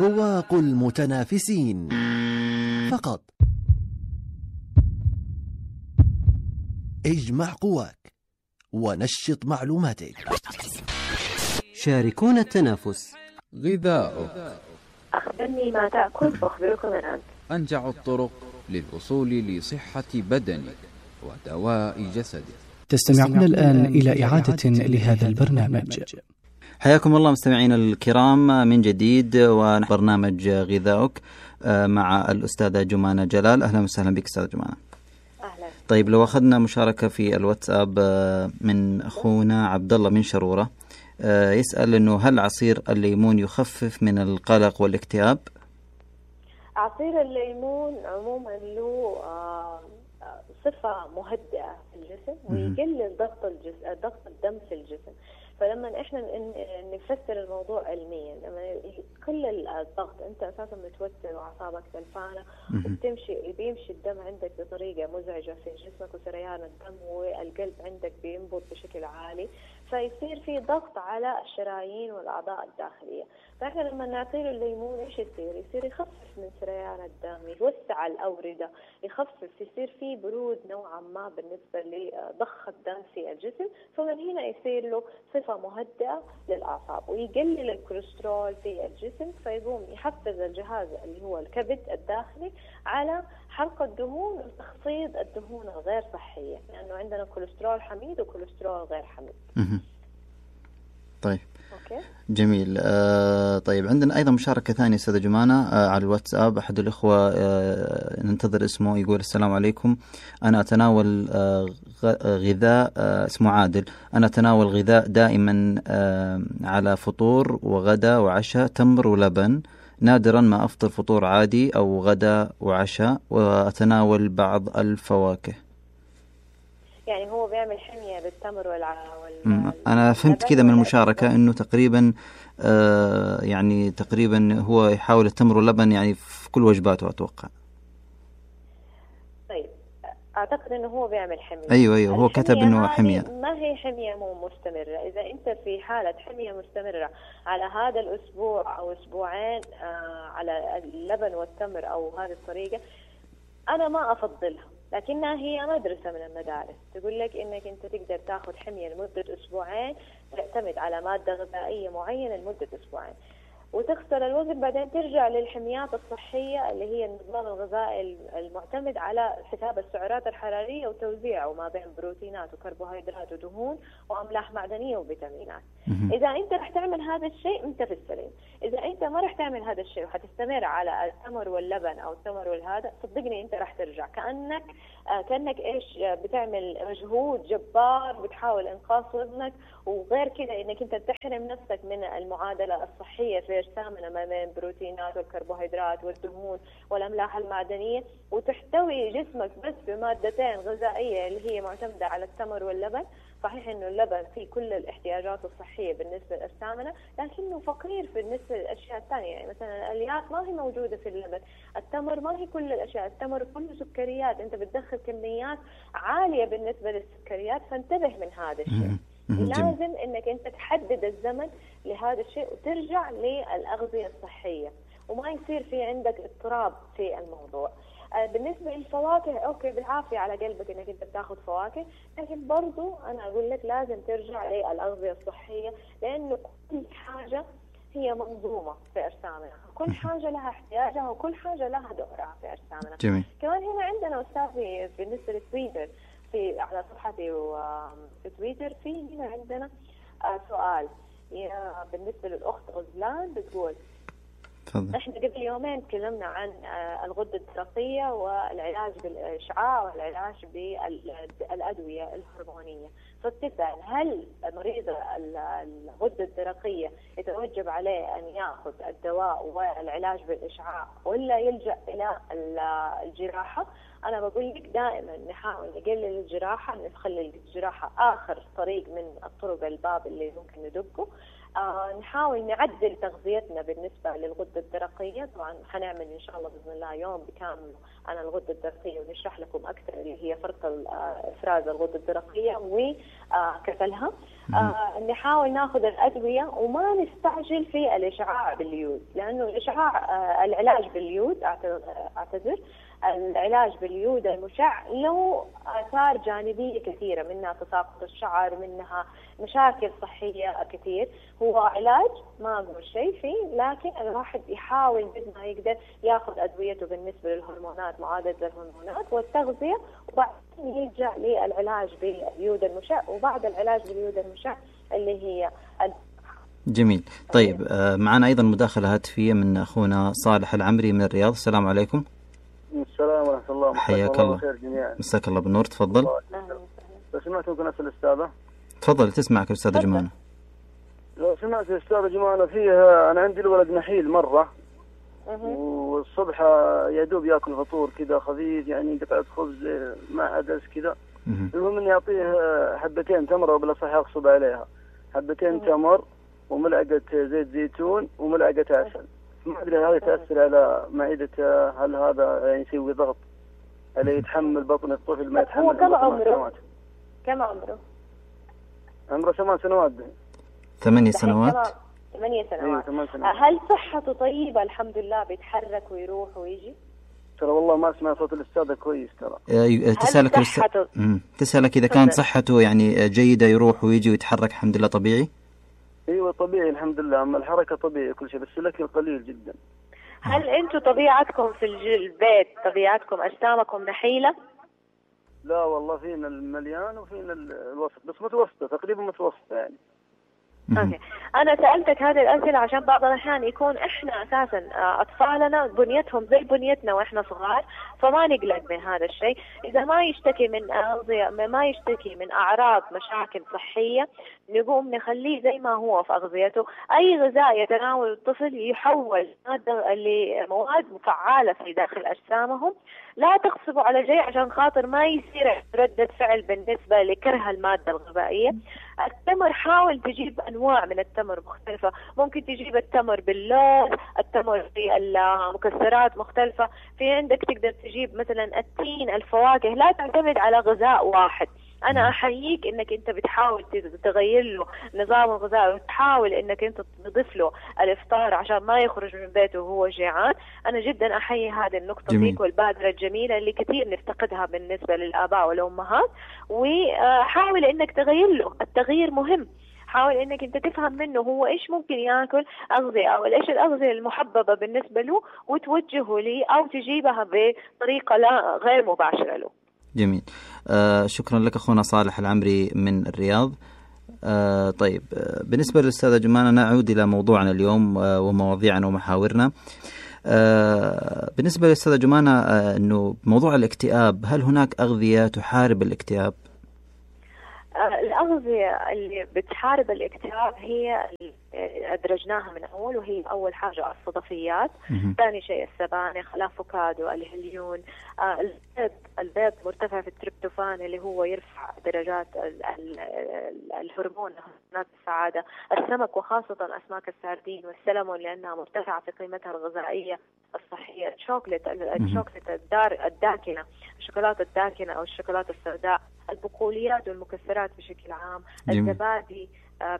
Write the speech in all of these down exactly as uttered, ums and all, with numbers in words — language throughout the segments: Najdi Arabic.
رواق المتنافسين فقط. اجمع قواك ونشط معلوماتك. شاركونا التنافس. غذاؤك. أخبرني ما تأكل فأخبركم الآن. أنجع الطرق للوصول لصحة بدنك ودواء جسدك. تستمعون الآن إلى إعادة لهذا البرنامج. حياكم الله مستمعين الكرام من جديد وبرنامج غذاؤك مع الأستاذة جمانة جلال. أهلا وسهلا بك أستاذة جمانة. أهلا. طيب لو أخذنا مشاركة في الواتساب من أخونا عبد الله من شرورة، يسأل إنه هل عصير الليمون يخفف من القلق والاكتئاب؟ عصير الليمون عموما له صفة مهدئة في الجسم ويقلل ضغط الجسم ضغط الدم في الجسم. فلما احنا نفسر الموضوع علميا، لما كل الضغط انت اساسا متوتر واعصابك تلفانه وبتمشي بيمشي الدم عندك بطريقه مزعجه في جسمك وسريان الدم والقلب عندك بينبض بشكل عالي، فيصير في ضغط على الشرايين والاعضاء الداخليه. فاحنا لما نعطيه الليمون ايش يصير؟ يصير يخفف من سريان الدم، يوسع الاورده، يخفف، يصير في برود نوعا ما بالنسبه لضخ الدم في الجسم، فمن هنا يصير له صفه مهدئة للأعصاب ويقلل الكوليسترول في الجسم، فيقوم يحفز الجهاز اللي هو الكبد الداخلي على حرق الدهون وتخفيض الدهون الغير صحية، لأنه يعني عندنا كوليسترول حميد وكوليسترول غير حميد. طيب أوكي. جميل. آه طيب عندنا أيضا مشاركة ثانية أستاذة جمانة آه على الواتساب. أحد الإخوة آه ننتظر اسمه، يقول السلام عليكم، أنا أتناول آه غذاء آه اسمه عادل، أنا أتناول غذاء دائما آه على فطور وغدا وعشاء تمر ولبن، نادرا ما أفطر فطور عادي أو غدا وعشاء، وأتناول بعض الفواكه. يعني هو بيعمل حمية بالتمر والع... وال... أنا فهمت كذا من المشاركة إنه تقريبا آه يعني تقريبا هو يحاول التمر واللبن يعني في كل وجباته أتوقع. طيب أعتقد إنه هو بيعمل حمية. أيوة أيوة هو كتب إنه حمية. ما هي حمية مو مستمرة. إذا أنت في حالة حمية مستمرة على هذا الأسبوع أو أسبوعين آه على اللبن والتمر أو هذه الطريقة، أنا ما أفضلها، لكنها هي مدرسة من المدارس تقول لك إنك أنت تقدر تأخذ حمية لمدة أسبوعين، تعتمد على مادة غذائية معينة لمدة أسبوعين وتخسر الوزن، بعدين ترجع للحميات الصحية اللي هي النظام الغذائي المعتمد على حساب السعرات الحرارية وتوزيعه ما بين بروتينات وكربوهيدرات ودهون وأملاح معدنية وفيتامينات. إذا أنت رح تعمل هذا الشيء أنت في السليم. إذا أنت ما رح تعمل هذا الشيء وحتستمر على التمر واللبن أو التمر والهذا، صدقني أنت رح ترجع كأنك آه كأنك إيش بتعمل مجهود جبار بتحاول إنقاص وزنك، وغير كده إنك أنت تحرم نفسك من المعادلة الصحية في أجسامنا ما بين البروتينات والكربوهيدرات والدهون والأملاح المعدنية، وتحتوي جسمك بس بمادتين غذائية اللي هي معتمدة على التمر واللبن. صحيح إنه اللبن فيه كل الاحتياجات الصحية بالنسبة لأجسامنا، لكنه فقير بالنسبة للأشياء الثانية. يعني مثلا الألياف ما هي موجودة في اللبن، التمر ما هي كل الأشياء، التمر كله سكريات، أنت بتدخل كميات عالية بالنسبة للسكريات، فانتبه من هذا الشيء. لازم إنك أنت تحدد الزمن لهذا الشيء وترجع للأغذية الصحية وما يصير في عندك اضطراب في الموضوع. بالنسبة للفواكه أوكي بالعافية على قلبك إنك أنت بتاخذ فواكه، لكن برضو أنا أقول لك لازم ترجع للأغذية الصحية، لأنه كل حاجة هي منظومة في أجسامنا، كل حاجة لها احتياجها وكل حاجة لها دورها في أجسامنا. جميل. كمان هنا عندنا أستاذي بالنسبة للتويتر في على صفحتي وفي تويتر في هنا عندنا سؤال بالنسبة للأخت غزلان بتقول فضل. احنا قبل يومين تكلمنا عن الغدة الدرقية والعلاج بالإشعاع والعلاج بالأدوية الهرمونية، فبتسأل هل مريض الغدة الدرقية يتوجب عليه أن يأخذ الدواء والعلاج بالإشعاع ولا يلجأ إلى الجراحة؟ أنا بقول لك دائما نحاول نقلل الجراحة، نخلي الجراحة آخر طريق من الطرق الباب اللي ممكن ندقه. آه نحاول نعدل تغذيتنا بالنسبة للغدة الدرقية. طبعا حنعمل إن شاء الله بإذن الله يوم بكامل عن الغدة الدرقية ونشرح لكم أكثر اللي هي فرط إفراز الغدة الدرقية وكسلها. آه نحاول ناخذ الأدوية وما نستعجل في الإشعاع باليود، لأنه الإشعاع آه العلاج باليود أعتذر العلاج باليود المشع له آثار جانبية كثيرة، منها تساقط الشعر، منها مشاكل صحية كثير. هو علاج ما أقول شيء فيه، لكن الواحد يحاول قد ما يقدر ياخذ أدويته بالنسبة للهرمونات، معالجة الهرمونات والتغذية، وبعدين يرجع للعلاج باليود المشع، وبعد العلاج باليود المشع اللي هي جميل. طيب آه معنا أيضا مداخلة هاتفية من أخونا صالح العمري من الرياض. السلام عليكم. السلام ورحمة الله. حياك الله. مساك الله بالنور. تفضل. لو سمعت ممكن أسأل الأستاذة؟ تفضل تسمعك الأستاذة جمانة. لو سمعت الأستاذة جمانة فيها، أنا عندي الولد نحيل مرة، والصبح يدوب يأكل فطور كذا خفيف، يعني قطعة خبز مع عدس كذا. المهم إني أعطيه حبتين تمر، وبالأصح أغصب عليها حبتين تمر وملعقة زيت زيتون وملعقة عسل. ما أدري هذا تأثر على معدته، هل هذا يعني يسوي ضغط عليه، يتحمل بطن الطفل ما يتحمل؟ هو كم عمره؟ كم عمره؟ عمره ثمان سنوات. ثمانية سنوات. ثمانية سنوات. أيوة سنوات. هل صحته طيبة؟ الحمد لله بيتحرك ويروح ويجي؟ ترى والله ما أسمع صوت الأستاذة كويس ترى. تسألك الأستاذ تسألك إذا كانت صحته يعني جيدة، يروح ويجي ويتحرك الحمد لله طبيعي؟ ايوه طبيعي الحمد لله، اما الحركه طبيعي كل شيء، بس الاكل قليل جدا. هل انتم طبيعتكم في البيت طبيعتكم اجسامكم نحيله؟ لا والله فينا المليان وفينا الوسط، بس متوسطه تقريبا متوسطه يعني. اوكي، انا سالتك هذه الاسئله عشان بعض الاحيان يكون احنا اساسا اطفالنا بنيتهم زي بنيتنا واحنا صغار، فما نقلق من هذا الشيء. اذا ما يشتكي من اغذيه، ما يشتكي من اعراض مشاكل صحيه، نقوم نخليه زي ما هو في اغذيته. اي غذاء يتناول الطفل يحول ماده لمواد فعاله في داخل اجسامهم. لا تغصبوا على شيء عشان خاطر ما يصير ردة فعل بالنسبة لكره المادة الغذائية. التمر حاول تجيب أنواع من التمر مختلفة، ممكن تجيب التمر باللوز، التمر في المكسرات مختلفة، في عندك تقدر تجيب مثلا التين، الفواكه. لا تعتمد على غذاء واحد. أنا أحييك إنك أنت بتحاول تغير له نظام الغذاء، وتحاول إنك أنت تضيف له الإفطار عشان ما يخرج من بيته وهو جيعان. أنا جدا أحيي هذه النقطة فيك والبادرة الجميلة اللي كثير نفتقدها بالنسبة للآباء والأمهات. وحاول إنك تغير له، التغيير مهم. حاول إنك أنت تفهم منه هو إيش ممكن يأكل أغذية، أو إيش الأغذية المحببة بالنسبة له، وتوجهه لي أو تجيبها بطريقة لا غير مباشرة له. جميل. آه شكرا لك أخونا صالح العمري من الرياض. آه طيب آه بالنسبة للأستاذة جمانة نعود إلى موضوعنا اليوم آه ومواضيعنا ومحاورنا. آه بالنسبة للأستاذة جمانة آه أنه موضوع الاكتئاب، هل هناك أغذية تحارب الاكتئاب؟ الأغذية اللي بتحارب الاكتئاب هي أدرجناها من أول، وهي أول حاجة الصدفيات، ثاني شيء السبانخ، الأفوكادو، الهليون، آه البيض. البيض مرتفع في التريبتوفان اللي هو يرفع درجات ال ال الهرمون هرمونات السعادة. السمك وخاصة أسماك السردين والسلمون لأنها مرتفعة في قيمتها الغذائية الصحية. الشوكولات الشوكولات الدار الداكنة، الشوكولاتة الداكنة أو الشوكولاتة السوداء، البقوليات والمكسرات بشكل عام، الزبادي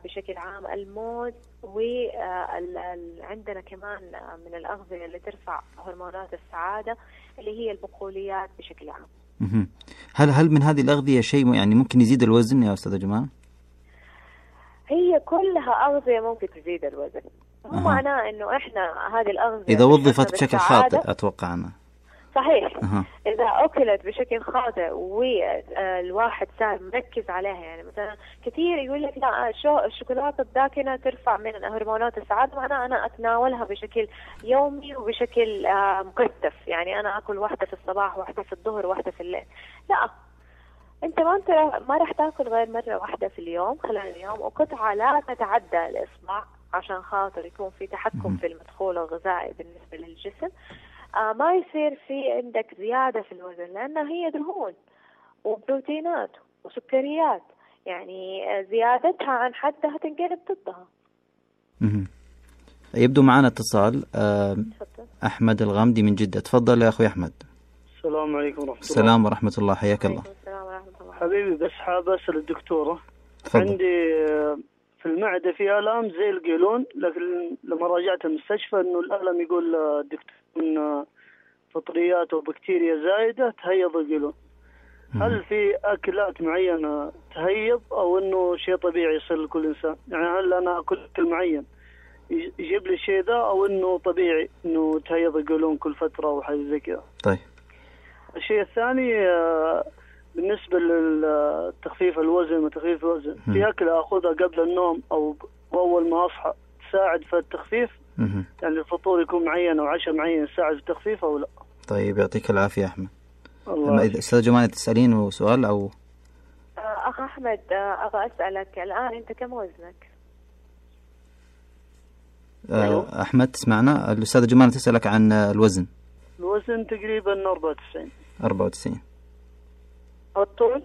بشكل عام، الموز. وعندنا كمان من الأغذية اللي ترفع هرمونات السعادة اللي هي البقوليات بشكل عام. هل هل من هذه الأغذية شيء يعني ممكن يزيد الوزن يا أستاذة جمال؟ هي كلها أغذية ممكن تزيد الوزن، مو أه. معناه إنه إحنا هذه الأغذية إذا وظفت بشكل خاطئ أتوقع أنا. صحيح. أه. إذا أكلت بشكل خاطئ والواحد صار مركز عليها، يعني مثلا كثير يقول لك لا شو الشوكولاتة الداكنة ترفع من هرمونات السعادة، معناه أنا أتناولها بشكل يومي وبشكل مكثف، يعني أنا أكل واحدة في الصباح واحدة في الظهر واحدة في الليل. لا، أنت ما أنت ما راح تأكل غير مرة واحدة في اليوم خلال اليوم، وقطعة لا تتعدى الإصبع عشان خاطر يكون في تحكم في المدخول الغذائي بالنسبة للجسم. آه ما يصير في عندك زيادة في الوزن، لأنها هي دهون وبروتينات وسكريات، يعني زيادتها عن حدها تنقلب ضدها. مهم. يبدو معنا اتصال. أه أحمد الغامدي من جدة، تفضل يا أخوي أحمد. السلام عليكم ورحمة الله. السلام ورحمة الله، حياك الله. السلام ورحمة الله. حبيبي بس حاب أسأل الدكتورة. تفضل. عندي في المعدة في آلام زي القيلون، لكن لما راجعت المستشفى إنه الألم يقول الدكتور إن فطريات وبكتيريا زايدة تهيض القيلون. هل في أكلات معينة تهيض أو إنه شيء طبيعي يصير لكل إنسان؟ يعني هل أنا أكل أكل معين يجيب لي الشيء ذا أو إنه طبيعي إنه تهيض القيلون كل فترة أو حاجة زي كذا؟ طيب. الشيء الثاني بالنسبة للتخفيف الوزن وتخفيف الوزن، في أكل أخذها قبل النوم أو أول ما أصحى تساعد في التخفيف؟ مم. يعني الفطور يكون معين أو عشاء معين يساعد في التخفيف أو لا؟ طيب يعطيك العافية أحمد. الله. إذا أستاذ جمانة تسألين سؤال أو أخ أحمد أبغى أسألك الآن، أنت كم وزنك؟ أه أحمد تسمعنا؟ الأستاذ جمانة تسألك عن الوزن. الوزن تقريبا أربعة وتسعين. أربعة وتسعين. والطول؟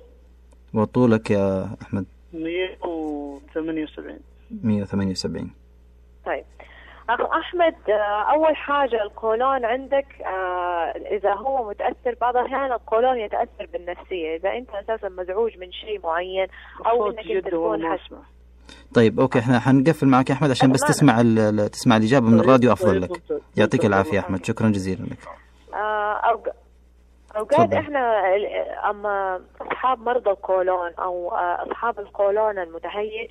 وطولك يا أحمد؟ مية وثمانية وسبعين. مية وثمانية وسبعين. طيب أخ أحمد، أول حاجة القولون عندك إذا هو متأثر، بعض الأحيان القولون يتأثر بالنفسية، إذا أنت أساسا مزعوج من شيء معين أو إنك أنت تكون حاسس. طيب أوكي، إحنا حنقفل معك يا أحمد عشان بس تسمع تسمع الإجابة من الراديو أفضل لك. يعطيك العافية أحمد، شكرا جزيلا لك. أوقات إحنا أما أصحاب مرضى القولون أو أصحاب القولون المتهيج،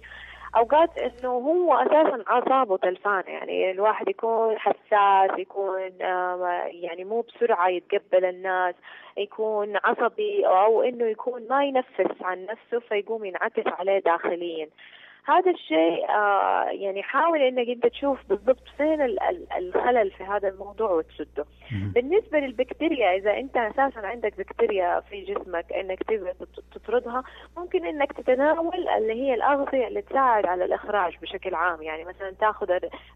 أوقات إنه هو أساساً أعصابه تلفانة، يعني الواحد يكون حساس، يكون يعني مو بسرعة يتقبل الناس، يكون عصبي، أو إنه يكون ما ينفس عن نفسه فيقوم ينعكس عليه داخلياً. هذا الشيء آه يعني حاول انك انت تشوف بالضبط فين الخلل في هذا الموضوع وتسده. بالنسبة للبكتيريا، اذا انت اساسا عندك بكتيريا في جسمك انك تبغى تطردها، ممكن انك تتناول اللي هي الاغذية اللي تساعد على الاخراج بشكل عام، يعني مثلا تاخذ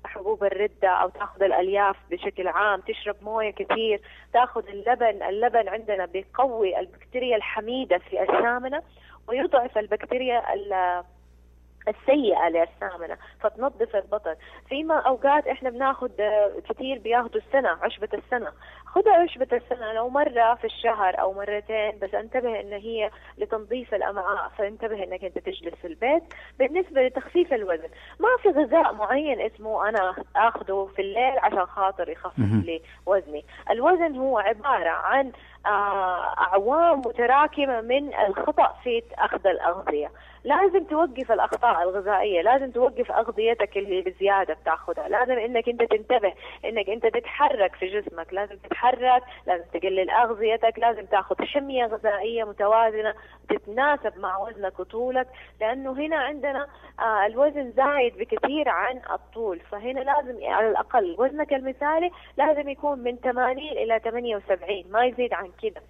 حبوب الردة او تاخذ الالياف بشكل عام، تشرب موية كثير، تاخذ اللبن. اللبن عندنا بيقوي البكتيريا الحميدة في السامنة ويضعف البكتيريا السيئة للسامنة فتنظف البطن. فيما أوقات إحنا بناخد كثير بياخدوا السنة، عشبة السنة، خذها عشبة السنة لو مرة في الشهر أو مرتين، بس انتبه إن هي لتنظيف الأمعاء، فانتبه إنك أنت تجلس في البيت. بالنسبة لتخفيف الوزن، ما في غذاء معين اسمه أنا أخذه في الليل عشان خاطر يخفف لي وزني. الوزن هو عبارة عن أعوام متراكمة من الخطأ في أخذ الأغذية. لازم توقف الأخطاء الغذائية، لازم توقف أغذيتك اللي بزيادة بتاخذها، لازم إنك أنت تنتبه إنك أنت تتحرك في جسمك، لازم تتحرك، لازم تقلل أغذيتك، لازم تاخذ حمية غذائية متوازنة تتناسب مع وزنك وطولك، لأنه هنا عندنا آه الوزن زايد بكثير عن الطول، فهنا لازم على الأقل وزنك المثالي لازم يكون من ثمانين إلى ثمانية وسبعين، ما يزيد عن كده.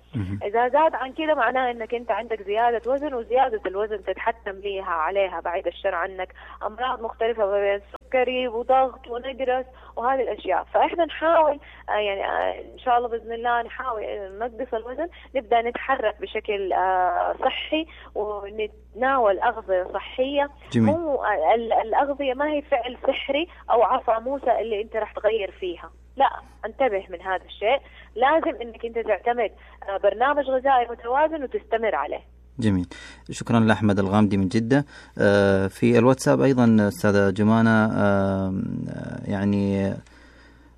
إذا زاد عن كده معناه إنك أنت عندك زيادة وزن، وزيادة الوزن تتحتم ليها عليها بعيد الشر عنك أمراض مختلفة بين سكري وضغط ونقرس وهذه الأشياء. فإحنا نحاول آه يعني آه إن شاء الله بإذن الله نحاول ننقص الوزن، نبدأ نتحرك بشكل آه صحي ونتناول أغذية صحية. جميل. مو الأغذية ما هي فعل سحري أو عصا موسى اللي أنت راح تغير فيها، لا، انتبه من هذا الشيء. لازم انك انت تعتمد برنامج غذائي متوازن وتستمر عليه. جميل، شكرا لأحمد الغامدي من جدة. في الواتساب أيضا أستاذة جمانة يعني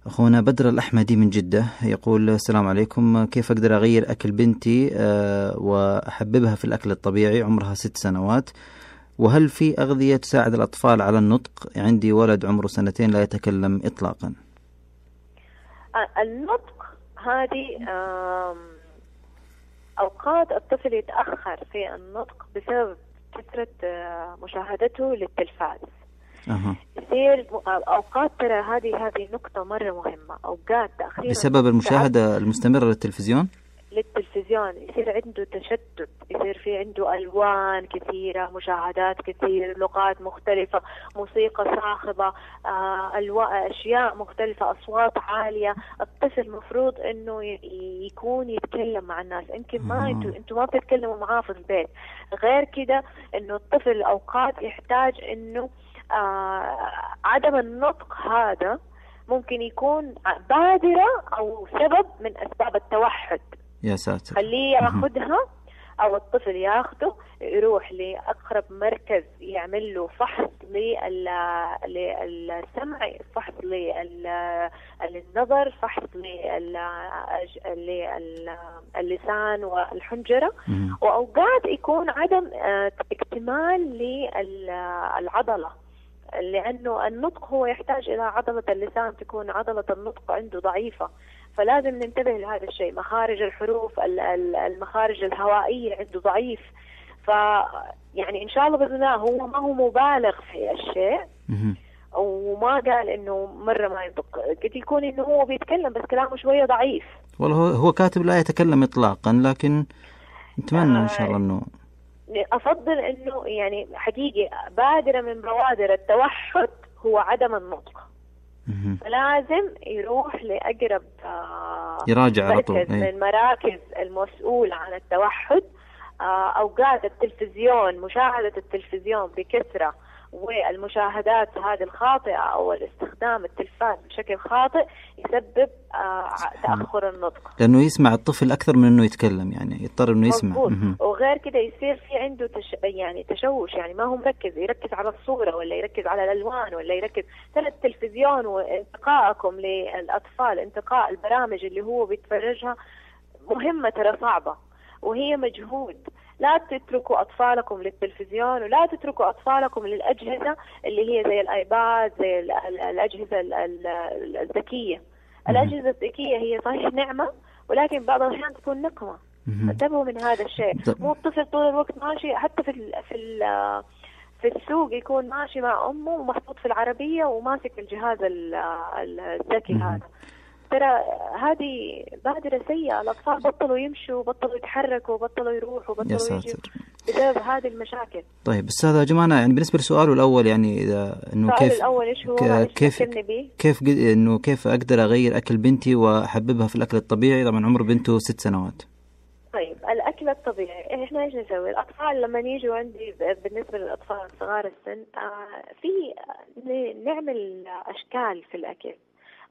أخونا بدر الأحمدي من جدة يقول السلام عليكم، كيف أقدر أغير أكل بنتي وأحببها في الأكل الطبيعي، عمرها ست سنوات، وهل في أغذية تساعد الأطفال على النطق؟ عندي ولد عمره سنتين لا يتكلم إطلاقا. النطق هذه أوقات الطفل يتأخر في النطق بسبب كثرة مشاهدته للتلفاز. أه. يصير أوقات، ترى هذه هذه نقطة مرة مهمة، أوقات تأخير بسبب المشاهدة المستمرة للتلفزيون للتلفزيون يصير عنده تشتت، يصير في عنده ألوان كثيرة، مشاهدات كثير، لغات مختلفة، موسيقى صاخبة، آه، ألواء أشياء مختلفة، أصوات عالية. الطفل مفروض إنه يكون يتكلم مع الناس، يمكن ما أنتوا أنتوا ما بتتكلموا معاه في البيت. غير كده إنه الطفل أوقات يحتاج إنه آه عدم النطق هذا ممكن يكون بادرة أو سبب من أسباب التوحد. يا ساتر. خليه ياخدها أو الطفل ياخده يروح لأقرب مركز يعمل له فحص للسمع، فحص للنظر، فحص للسان والحنجرة. وأوقات يكون عدم اكتمال للعضلة، لأنه النطق هو يحتاج إلى عضلة اللسان تكون عضلة النطق عنده ضعيفة، فلازم ننتبه لهذا الشيء. مخارج الحروف، المخارج الهوائية عنده ضعيف، ف يعني إن شاء الله بإذن الله هو ما هو مبالغ في الشيء وما قال إنه مرة ما ينطق، قد يكون إنه هو بيتكلم بس كلامه شوية ضعيف. والله هو كاتب لا يتكلم إطلاقا، لكن نتمنى إن شاء الله إنه أفضل إنه يعني حقيقي بادرة من بوادر التوحد هو عدم النطق، فلازم يروح لأقرب يراجع على طول مركز من مراكز المسؤول عن التوحد. أوقات التلفزيون، مشاهدة التلفزيون بكثرة والمشاهدات هذه الخاطئة أو الاستخدام التلفاز بشكل خاطئ يسبب تأخر النطق، لأنه يسمع الطفل أكثر من أنه يتكلم، يعني يضطر أنه يسمع. وغير كده يصير في عنده تش... يعني تشوش، يعني ما هو مركز، يركز على الصورة ولا يركز على الألوان ولا يركز ترى التلفزيون. وانتقائكم للأطفال، انتقاء البرامج اللي هو بيتفرجها مهمة ترى صعبة وهي مجهود. لا تتركوا أطفالكم للتلفزيون ولا تتركوا أطفالكم للأجهزة اللي هي زي الآيباد، زي الأجهزة الذكية. الأجهزة الذكية هي صحيح نعمة، ولكن بعض الأحيان تكون نقمة. انتبهوا من هذا الشيء. مو الطفل طول الوقت ماشي، حتى في ال في ال في السوق يكون ماشي مع أمه ومحطوط في العربية وماسك الجهاز الذكي هذا. ترى هذه بادرة سيئة. الأطفال بطلوا يمشوا، بطلوا يتحركوا، بطلوا يروحوا، بطلوا يجوا بسبب هذه المشاكل. طيب أستاذة جمانة، يعني بالنسبة لسؤاله الأول، يعني إذا إنه كيف الأول إيش هو كيف كيف إنه كيف أقدر أغير أكل بنتي وأحببها في الأكل الطبيعي؟ طبعا عمر بنته ست سنوات. طيب الأكل الطبيعي إحنا إيش نسوي؟ الأطفال لما يجوا عندي بالنسبة للأطفال صغار السن آه في نعمل أشكال في الأكل.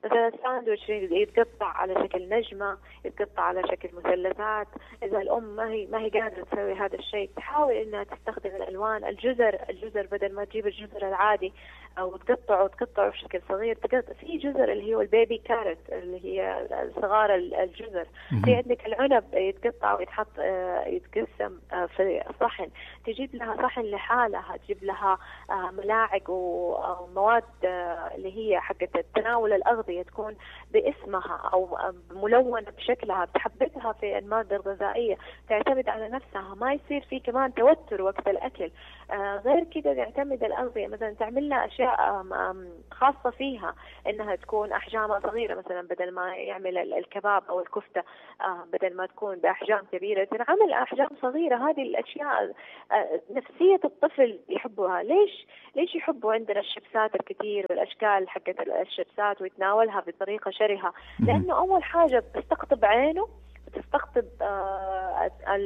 مثلا الساندويتش يتقطع على شكل نجمة، يتقطع على شكل مثلثات. إذا الأم ما هي ما هي قادرة تسوي هذا الشيء تحاول إنها تستخدم الألوان. الجزر الجزر بدل ما تجيب الجزر العادي أو تقطعه وتقطعه بشكل صغير، تقطع في جزر اللي هو البيبي كارت اللي هي صغار الجزر. في عندك العنب يتقطع ويتحط يتقسم في صحن، تجيب لها صحن لحالها، تجيب لها ملاعق ومواد اللي هي حقت تناول الأغذية تكون باسمها أو ملونة بشكلها، بتحببها في المادة الغذائية، تعتمد على نفسها، ما يصير في كمان توتر وقت الأكل. غير كده تعتمد الأغذية مثلا تعمل لها أشياء خاصة فيها، إنها تكون أحجامها صغيرة. مثلا بدل ما يعمل الكباب أو الكفتة بدل ما تكون بأحجام كبيرة تنعمل أحجام صغيرة. هذه الأشياء نفسية الطفل يحبها. ليش ليش يحبوا عندنا الشيبسات الكثير والأشكال حقت الشيبسات ويتناولها بطريقة شرهة؟ لأنه أول حاجة بتستقطب عينه، تستقطب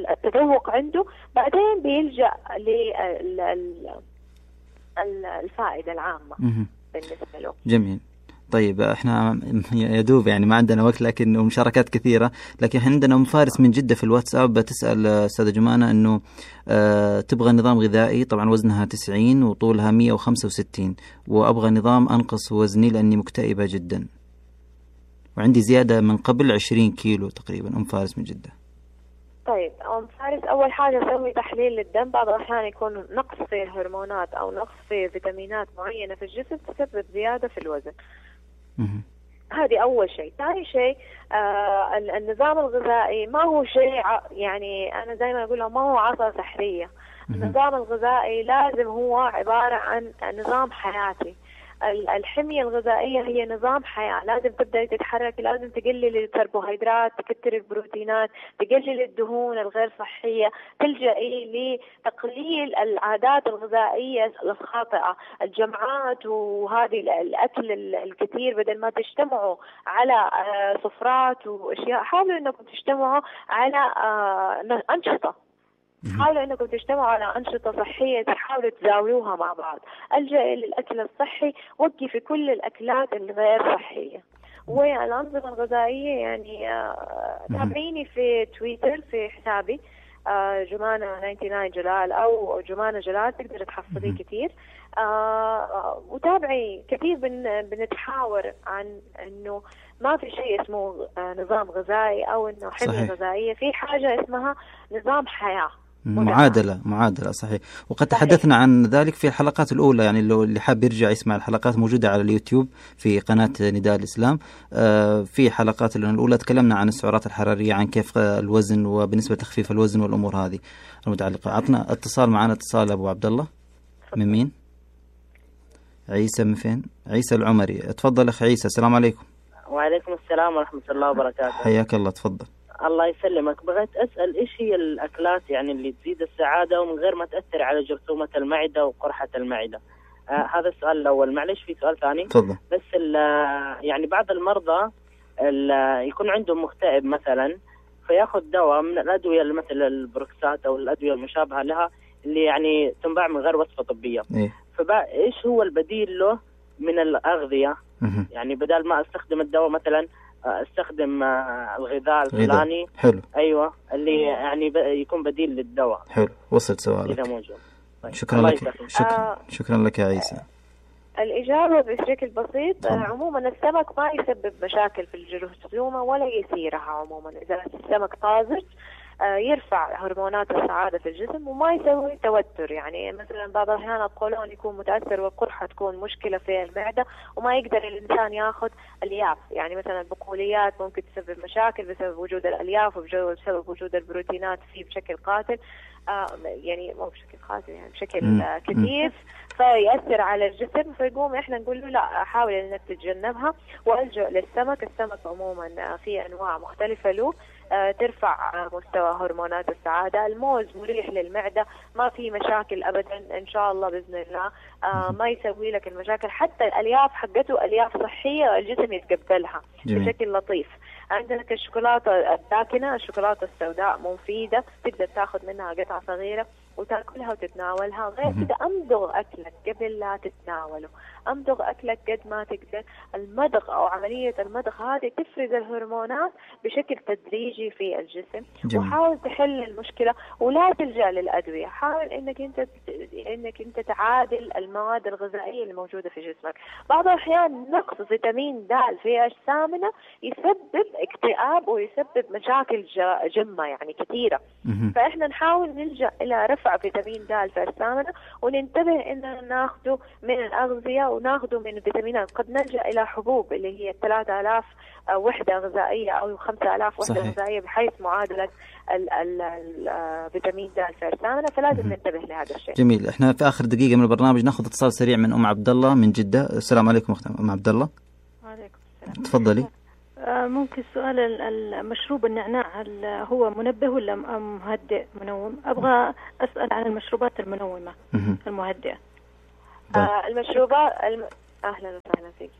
التذوق عنده، بعدين بيلجأ للفائدة العامة بالنسبة له. جميل. طيب احنا يدوب يعني ما عندنا وقت، لكن مشاركات كثيرة. لكن احنا عندنا أم فارس من جدة في الواتساب بتسأل أستاذة جمانة انه اه تبغى نظام غذائي، طبعا وزنها تسعين وطولها مية وخمسة وستين، وابغى نظام انقص وزني لاني مكتئبة جدا وعندي زيادة من قبل عشرين كيلو تقريبا. أم فارس من جدة. طيب أم فارس، أول حاجة سوي تحليل للدم. بعض الأحيان يكون نقص في الهرمونات أو نقص في فيتامينات معينة في الجسم تسبب زيادة في الوزن. هذه أول شيء. ثاني شيء آه النظام الغذائي ما هو شيء يعني أنا دائما أقول ما هو عصا سحرية. النظام الغذائي لازم هو عبارة عن نظام حياتي. الحمية الغذائية هي نظام حياة، لازم تبدأ تتحرك، لازم تقلل الكربوهيدرات، تكتر البروتينات، تقلل الدهون الغير صحية، تلجئي لتقليل العادات الغذائية الخاطئة، الجمعات وهذه الأكل الكثير. بدل ما تجتمعوا على سفرات وأشياء، حاولوا أنكم تجتمعوا على أنشطة حاولوا انكم تجتمعوا على انشطه صحيه تحاولوا تزاولوها مع بعض. الجئي للاكل الصحي، وقفي كل الاكلات الغير صحيه. والانظمه الغذائيه يعني تابعيني في تويتر في حسابي جمانة تسعة وتسعين جلال أو جمانة جلال، تقدر تحصليه كثير. آه وتابعي كثير بن بنتحاور عن إنه ما في شيء اسمه نظام غذائي أو إنه حمية غذائية، في حاجة اسمها نظام حياة، معادلة معادلة صحيح. وقد صحيح. تحدثنا عن ذلك في الحلقات الأولى، يعني لو اللي حاب يرجع يسمع الحلقات موجودة على اليوتيوب في قناة نداء الإسلام. آه في حلقات الأولى تكلمنا عن السعرات الحرارية، عن كيف الوزن وبالنسبة لتخفيف الوزن والأمور هذه المتعلقة. عطنا اتصال، معنا اتصال أبو عبد الله. من مين؟ عيسى. من فين؟ عيسى العمري. تفضل أخ عيسى. السلام عليكم. وعليكم السلام ورحمة الله وبركاته. حياك الله، تفضل. الله يسلمك. بغيت أسأل إيش هي الأكلات يعني اللي تزيد السعادة ومن غير ما تأثر على جرثومة المعدة وقرحة المعدة؟ آه هذا السؤال الأول. معلش في سؤال ثاني. تفضل. بس يعني بعض المرضى يكون عندهم مكتئب مثلا، فياخذ دواء من الأدوية مثل البروكسات أو الأدوية المشابهة لها اللي يعني تنباع من غير وصفة طبية. إيه؟ فإيش هو البديل له من الأغذية؟ يعني بدل ما أستخدم الدواء مثلا استخدم الغذاء الفلاني. حلو. ايوه اللي يعني يكون بديل للدواء. حلو، وصلت سؤالك. اذا موجود. طيب. شكرا لك. شكرا. آه شكرا لك يا عيسى. الإجابة بشكل بسيط. آه عموما السمك ما يسبب مشاكل في الجرثومة ولا يثيرها. عموما إذا السمك طازج آه يرفع هرمونات السعادة في الجسم وما يسوي توتر. يعني مثلا بعض الأحيان القولون يكون متأثر والقرحة تكون مشكلة في المعدة وما يقدر الإنسان يأخذ ألياف. يعني مثلا البقوليات ممكن تسبب مشاكل بسبب وجود الألياف وبسبب وجود البروتينات فيه بشكل قاتل. آه يعني مو بشكل قاتل يعني بشكل آه كثيف، فيأثر على الجسم. فيقوم إحنا نقول له لا، حاول إنك تتجنبها والجأ للسمك. السمك عموما في أنواع مختلفة له آه ترفع مستوى هرمونات السعادة. الموز مريح للمعدة، ما في مشاكل أبدا إن شاء الله بإذن الله. آه ما يسوي لك المشاكل. حتى الألياف حقته ألياف صحية الجسم يتقبلها جميل. بشكل لطيف. عندك الشوكولاتة الداكنة، الشوكولاتة السوداء مفيدة، تقدر تاخذ منها قطعة صغيرة وتاكلها وتتناولها. غير كده أمضغ أكلك قبل لا تتناوله، أمضغ أكلك قد ما تقدر. المضغ أو عملية المضغ هذه تفرز الهرمونات بشكل تدريجي في الجسم جميل. وحاول تحل المشكلة ولا تلجأ للأدوية. حاول إنك أنت إنك أنت تعادل المواد الغذائية الموجودة في جسمك. بعض الأحيان نقص فيتامين د في أجسامنا يسبب اكتئاب ويسبب مشاكل جمة يعني كثيرة. فإحنا نحاول نلجأ إلى رفع فيتامين د في أجسامنا وننتبه إننا ناخده من الأغذية وناخده من الفيتامينات. قد نلجأ إلى حبوب اللي هي ثلاثة آلاف وحدة غذائية أو خمسة آلاف وحدة صحيح. غذائية بحيث معادلة الفيتامين د في أجسامنا. فلازم ننتبه لهذا الشيء. جميل. إحنا في آخر دقيقة من البرنامج ناخذ اتصال سريع من أم عبد الله من جدة. السلام عليكم أم عبد الله. وعليكم السلام. تفضلي. ممكن سؤال المشروب النعناع هو منبه ولا مهدئ منوم؟ أبغى أسأل عن المشروبات المنومة المهدئة. آه المشروبات الم... أهلا وسهلا فيك.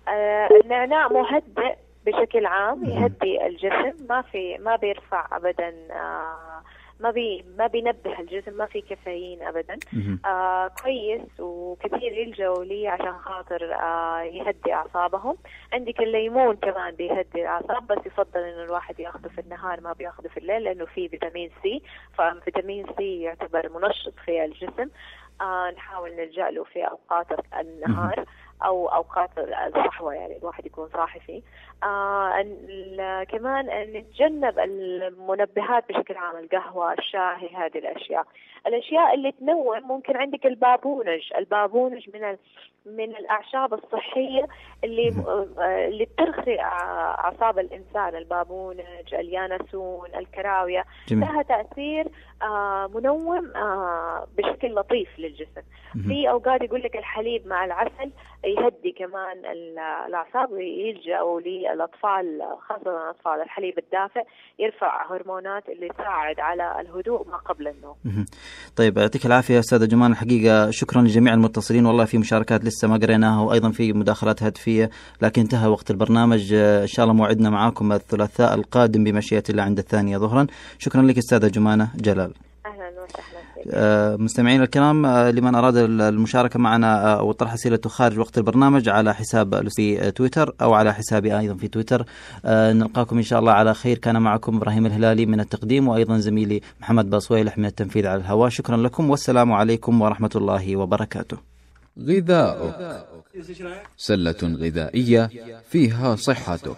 آه النعناع مهدئ بشكل عام، يهدي الجسم، ما في ما بيرفع أبدا، آه ما بي ما بينبه الجسم، ما في كافيين ابدا. آه كويس وكثير يلجأوا لي عشان خاطر آه يهدي اعصابهم. عندك الليمون كمان بيهدي الاعصاب، بس يفضل انه الواحد ياخذه في النهار ما بياخذه في الليل لانه فيه فيتامين سي، ففيتامين سي يعتبر منشط في الجسم. آه نحاول نلجأ له في اوقات النهار او اوقات الصحوه، يعني الواحد يكون صاحي فيه. آه كمان نتجنب المنبهات بشكل عام، القهوه، الشاي، هذه الاشياء. الاشياء اللي تنوم ممكن عندك البابونج. البابونج من من الاعشاب الصحيه اللي اللي بترخي اعصاب الانسان. البابونج، اليانسون، الكراويه جميل. لها تاثير آه منوم آه بشكل لطيف للجسم. في اوقات يقول لك الحليب مع العسل يهدي كمان الاعصاب، ويلجأوا للاطفال خاصه الاطفال الحليب الدافئ يرفع هرمونات اللي تساعد على الهدوء ما قبل النوم. طيب يعطيك العافيه استاذه جمان. الحقيقه شكرا لجميع المتصلين، والله في مشاركات لسه ما قريناها وايضا في مداخلات هدفيه، لكن انتهى وقت البرنامج. ان شاء الله موعدنا معاكم الثلاثاء القادم بمشيئه الله عند الثانيه ظهرا. شكرا لك استاذه جمانه جلال. اهلا مستمعين الكرام، لمن أراد المشاركة معنا أو طرح أسئلته خارج وقت البرنامج على حساب في تويتر أو على حسابي أيضا في تويتر. نلقاكم إن شاء الله على خير. كان معكم إبراهيم الهلالي من التقديم، وأيضا زميلي محمد باصويلح من التنفيذ على الهواء. شكرا لكم والسلام عليكم ورحمة الله وبركاته. غذاؤك، سلة غذائية فيها صحتك.